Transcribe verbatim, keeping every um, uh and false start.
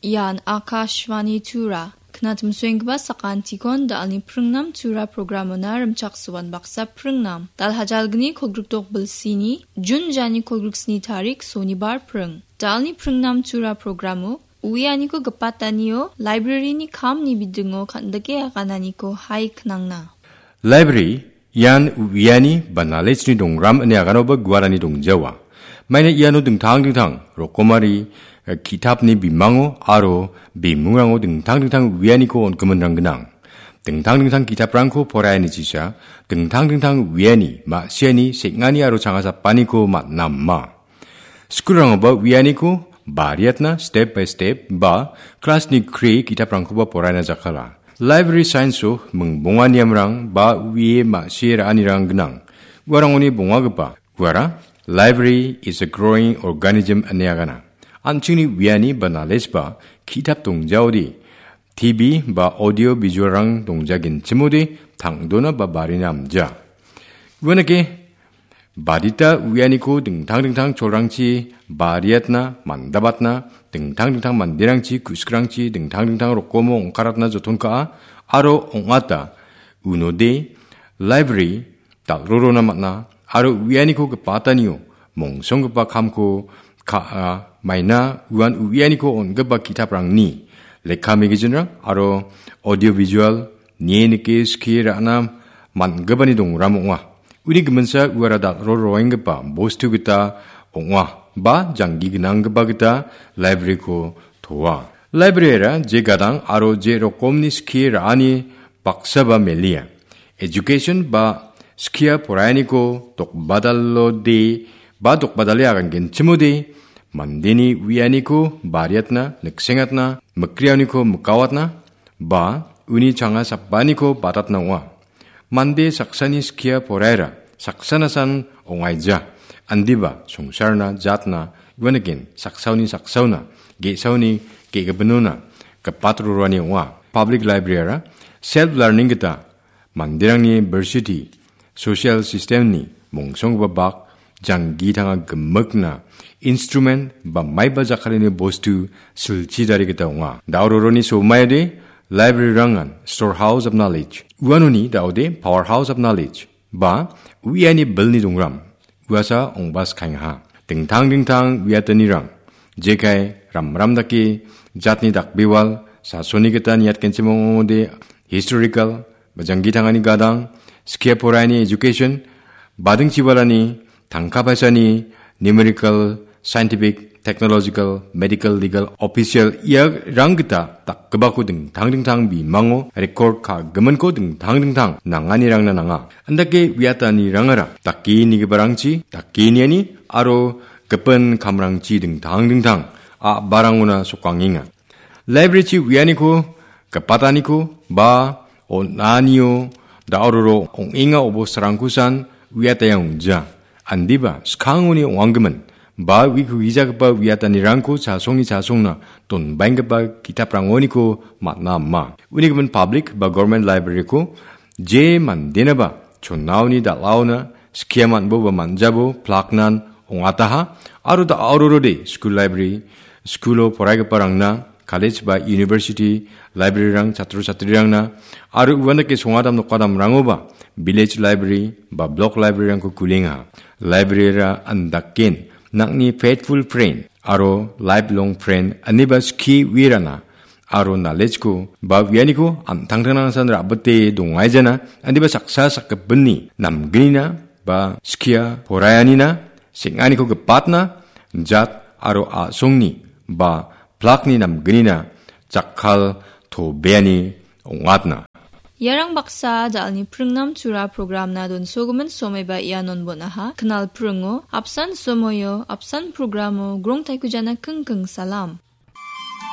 Ian Akashvani Tura. Knatimsoenggipa sakantikon dalni pringnam Tura programona rimchaksoan baksa pringnam. Dal hajalgni kolgrikdok bilsini, Jun jani kolgriksni tarik Sonibar pring. Dalni pringnam Tura programo uianiko gipatanio library-ni kamni bidingo kan·dike agananiko hai knangna. Library ian uiani ba knowledge-ni dongram ine aganoba guarani dongjawa. Maina iano dingtang dingtang rokomari, eh, ki·tapni bimango aro bimungrango dingtang dingtang uianiko on·giminrang gnang. Dingtang dingtang ki·taprangko poraianichisa, dingtang dingtang uiani, ma·siani, seng·ani aro changasapaniko man·a ma. Skulrangoba uianiko bariatna step by step ba class-ni kri ki·taprangkoba poraina jakala. Library science-o mingbonga niamrang ba uie ma·sie ra·anirang gnang. Uarangoni bongagipa, uara, library is a growing organism ine agana. An·chingni uiani ba knowledge ba ki·tap dongjaode, T V ba audio visual-rang dongjagenchimode tang·dona ba barina amja. Uanake badita uianiko dingtang dingtang cholrangchi bariatna, mandabatna, dingtang dingtang manderangchi, ku·sikrangchi dingtang dingtang rokomo ong·karatna joton ka·a aro ong·ata. Unode library dal·rorona man·a aro uianiko gipatanio mongsonggipa kamko ka·a, maina uan uianiko on·gipa ki·taprangni lekka magazine-rang aro audio visual nie nike skie ra·na man·gipani dongram ong·a. Uni giminsa uara dal·roroenggipa bostu gita ong·a ba janggi gnanggipa gita library-ko toa. Library-ara je gadang aro je rokomni skie ra·ani baksaba melia. Education ba skia poraianiko dokbadalode ba dokbadale agangenchimode mandeni uianiko bariatna, niksengatna, mikriauniko mikawatna, ba uni changa sapaniko batatna ong·a. Mande saksani skia poraira, saksanasan ong·aija. Andiba songsarna jatna, uaniken saksaoni saksaona, ge·saoni ge·gipinona gipatrorani ong·a. Public library-ara self learning gita manderangni versity, social system-ni mongsonggipa bak, janggi tanga gimikna, instrument ba maiba jakkalni bostu silchi dari gita ong·a. Daororoni somaide library-rangan storehouse of knowledge, uanoni daode powerhouse of knowledge, ba uiani bilni dongram, uasa ong·baskaengaha. Dingtang dingtang uiatanirang, jekai ramram dake jatni dakbewal, sasoni gita niatgenchim ong·ode historical, ba janggi tangani gadang, skia poraiani education, badingchibalani, tangka paisani, numerical, scientific, technological, medical, legal, official, iarang gita dakgipako dingtang dingtang bimango record ka·giminko dingtang dingtang nanganirangna nanga. Andake uiatanirangara dake nigiparangchi, dake niani aro gipin kamrangchi dingtang dingtang a·barangona sokangenga. Library-chi uianiko, gipataniko, ba on·anio, daororo ong·enga obostarangkosan uiataia ong·ja. Andiba, skangoni ong·anggimin, ba uiko gijagipa uiatanirangko chasongni chasongna donbaenggipa ki·taprangoniko man·a ama. Unigimin public ba government library-ko je mandenaba chonaoni dal·aona skia man·bo ba man·jabo plaknan ong·ataha aro da-, aororode school library, school-o poraigiparangna, college ba university library-rang, chatro chatrirangna, aro uandake songadam nokadamrangoba village library ba block library-rangko kulenga. Library-ra andaken nang·ni faithful friend aro lifelong friend aniba skie uirana aro knowledge-ko ba uianiko an·tangtangtangsan ra·bite dongaijana, andiba saksa sakgipinni namgnina ba skia poraianina, seng·aniko gipatna, jat aro a·songni ba plakni namgnina jakkal tobeani ong·atna. Iarang baksa dalni pringnam tura programna donsogimin somaiba ianon bon·aha. Knal pringo, apsan somoio, apsan programo, grong taikujana kingking salam.